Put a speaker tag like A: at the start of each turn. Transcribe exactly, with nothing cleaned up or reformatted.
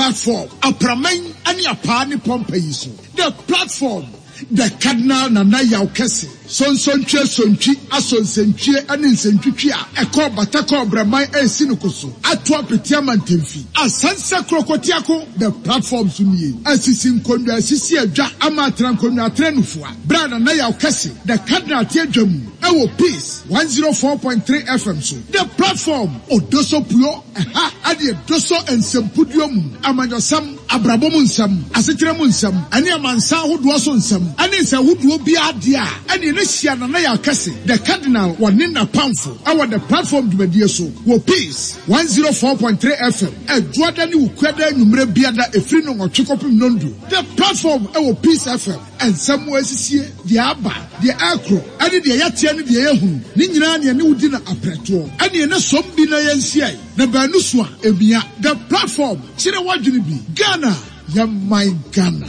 A: Platform, apraman ne apaa ne pɔmpa yi so. The Platform, The Cardinal Nana Yaw Kɛse, Sonsontwie Sontwi Asonsentwie ne Nsɛntwitwi a ɛkɔɔ bata kɔɔ Braman resi no koso ato apete ama ntɛmfi. Asansa Krokotiako, The Platform so nie. Asisi nkonnwa asisi adwa ama atena nkonnwa atena nufua. Berɛ a Nana Yaw Kɛse, The Cardinal te adwa mu wɔ Peace one zero four point three F M so. The Platform, Odoso Puo, ɛha ɛde Edoso nsɛmpuduo mu, amanyɔsɛm, abrabɔ mu nsɛm, asetena mu nsɛm, ɛne amansan ahodoɔ so nsɛm, ɛne nsɛnhodoɔ biara deɛ a, ɛne ne hyia Nana Yaw Kɛse, The Cardinal, wɔ ne napamfo ɛwɔ The Platform dwumadie so wɔ Peace one zero four point three F M, Ɛdwoada ne Wukuada anwummerɛ biada ɛfiri no nwɔtwe kɔpem nondu. The Platform ɛwɔ Peace F M, nsɛm mu asisie, deɛ aba, deɛ ɛkorɔ, ɛne deɛ yɛteɛ ne deɛ yɛhunu, ne nyinaa ne ɛne wodi na aprɛtoɔ, ɛne ɛne som bi na yɛnhyiae, na baanu so a, emia. The Platform, kyerɛ w'adwene bi. Ghana, yɛ man Ghana.